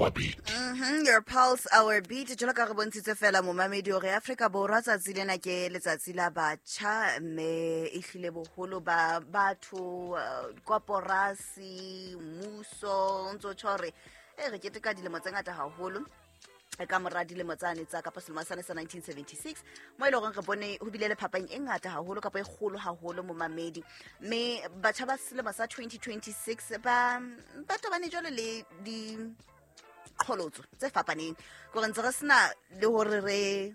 our beat. Your pulse, our beat. Jwalo ka re bontshitse fela momamedi hore Afrika Borwa tsatsi lena ke letsatsi la batjha, mme e hlile boholo ba batho, koporasi, mmuso, o ntso tjho hore e re keteka dilemo tse ngata haholo ka mora dilemo tsane tsa kapa selemo sane sa 1976, mo e leng gore re bone ho bile le phapang e ngata haholo kapa e kgolo haholo, momamedi. Mme batjha ba selemo sa 2026 ba tobane jwalo le di qholotso tse fapaneng, kore ntse re sena le hore re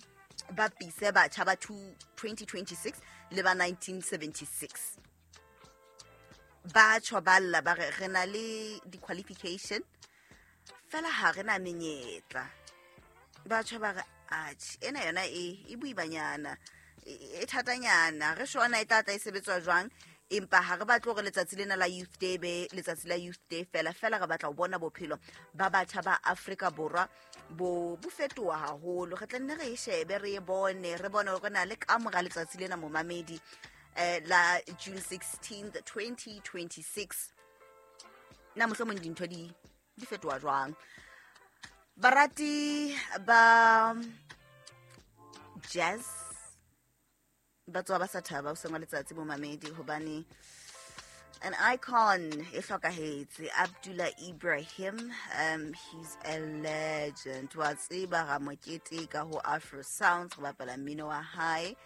bapise batjha ba 2026 le ba 1976. Ba tjho ba lla ba re re na le di-qualification fela ha re na menyetla. Batjha ba re atjhe, ena yona e boimanyana, e thatanyana, re shona e tla tla e sebetswa jwang. Empa ha re batle hore letsatsi lena la Youth Day be letsatsi la Youth Day fela fela, re batla ho bona bophelo ba batjha ba Afrika Borwa bo fetoha haholo. Re tla nne re e shebe, re e bone, re bone hore na le ka mora letsatsi lena, momamedi, la June 16 2026, na mohlomong dintho di fetoha jwang. Barati ba jazz ba tswa ba sa thaba hoseng wa letsatsi, momamedi, hobane an icon e hlokahetse, Abdullah Ibrahim. He's a legend. Wa tseba ra mo keteka ho Afro Sounds, go bapala mmino wa hae.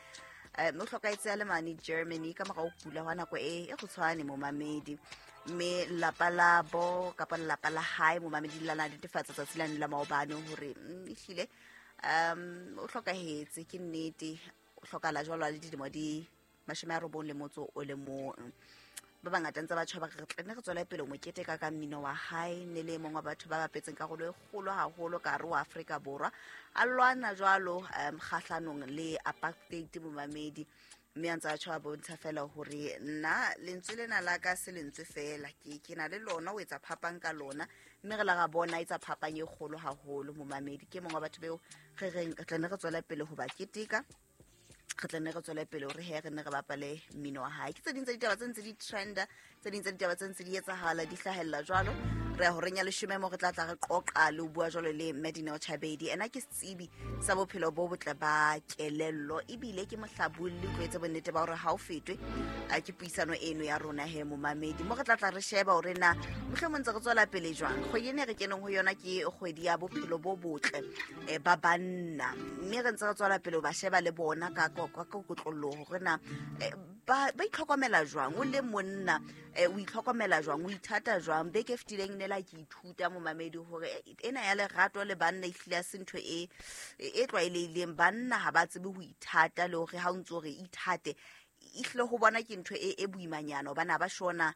O hlokahetse a le mane Germany ka mora ho kula hwa nako e kgutshwane, momamedi. Mme lelapa la bo kapa lelapa la hae, momamedi, la netefatsa tsatsi lane la maobane hore ehlile o hlokahetse. Ke nnete, o hlokahala jwalo a le dilemo di 91. Ba bangata ntse ba tjho ba re re tla nne re tswele pele ho mo keteka ka mmino wa hae. Ne le e mong wa batho ba bapetseng karolo e kgolo haholo ka hare ho Afrika Borwa, a lwana jwalo kgahlanong le apartheid, momamedi. Mme a ntse a tjho a bontsha fela hore nna lentswe lena la ka se lentswe fela, ke na le lona ho etsa phapang ka lona. Mme re la ra bona etsa phapang e kgolo haholo, momamedi. Ke mong wa batho beo re reng re tla nne re tswele pele ho ba keteka, re tla nne re tswele pele hore he re nne re bapale mmino wa hae. Ke tse ding tsa ditaba tse ntse di trenda, tse ding tsa ditaba tse ntse di etsahala, di hlahella jwalo. Re ya horeng ya 10 mo re tla tla re qoqa le ho bua jwalo le Medina Chabedi. Ena ke setsebi sa bophelo bo botle ba kelello, ebile ke mohlabolli. O etse bonnete ba hore ha o fetwe a ke puisano eno ya rona he, momamedi, mo re tla tla re sheba hore na mohlomong ntse re tswela pele jwang. Kgwedi ene re keneng ho yona ke kgwedi ya bophelo bo botle ba banna, mme re ntse re tswela pele ho ba sheba le bona ka kotloloho hore na ba itlhokomela jwang. O le monna, o itlhokomela jwang, o ithata jwang? Beke e fetileng ne la ke ithuta, momamedi, hore ena ya lerato le banna ehlile ya se ntho e tlwaelehileng. Banna ha ba tsebe ho ithata, le hore ha o ntso re ithate, ehlile ho bona ke ntho e boimanyana, hobane ha ba shona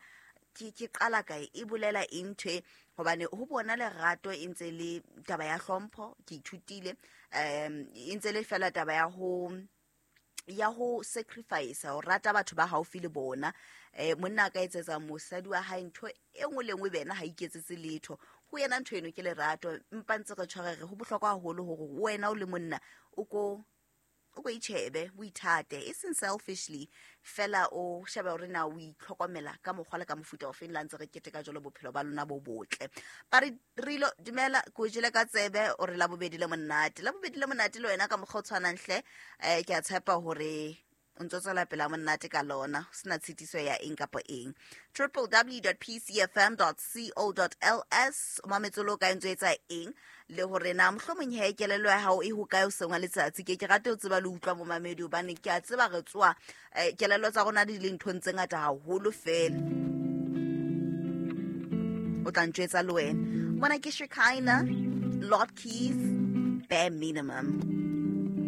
ke qala kae, e bolela eng ntho e, hobane ho bona lerato e ntse le taba ya hlompho. Ke ithutile e ntse le fela taba ya ho sacrifice, ho rata batho ba haufi le bona. Monna a ka etsetsa mosadi wa hae ntho e nngwe le nngwe, bena ha iketsetse letho ho yena. Ntho eno ke lerato. Mpa ntse re tshware re ho bohlokwa haholo hore wena o le monna o ko itjhebe, o ithate, e seng selfishly fela, o shebe hore na o itlhokomela ka mokgwa le ka mofuta ofeng. La ntse re keteka jwalo bophelo ba lona bo botle. Ba re rilo dumela, ko jele ka tsebe o re Labobedi le monate, Labobedi le monate le wena ka mokgwa o tshwanang hle. Ke a tshepa hore o ntso tswela pele a monate ka lona, ho sena tshitiso ya eng kapa eng. www.pcfm.co.ls. O mametse le o kae, ntso etsa eng, le hore na mohlomong he kelello ya hao e hokae o seng wa letsatsi. Ke rate ho tseba le utlwa, momamedi, hobane ke a tseba re tsoa kelello tsa rona di le nthong tse ngata haholo fela. O tla ntjwetsa le wena mona. Ke Shekina, Lord Keys, Bare Minimum.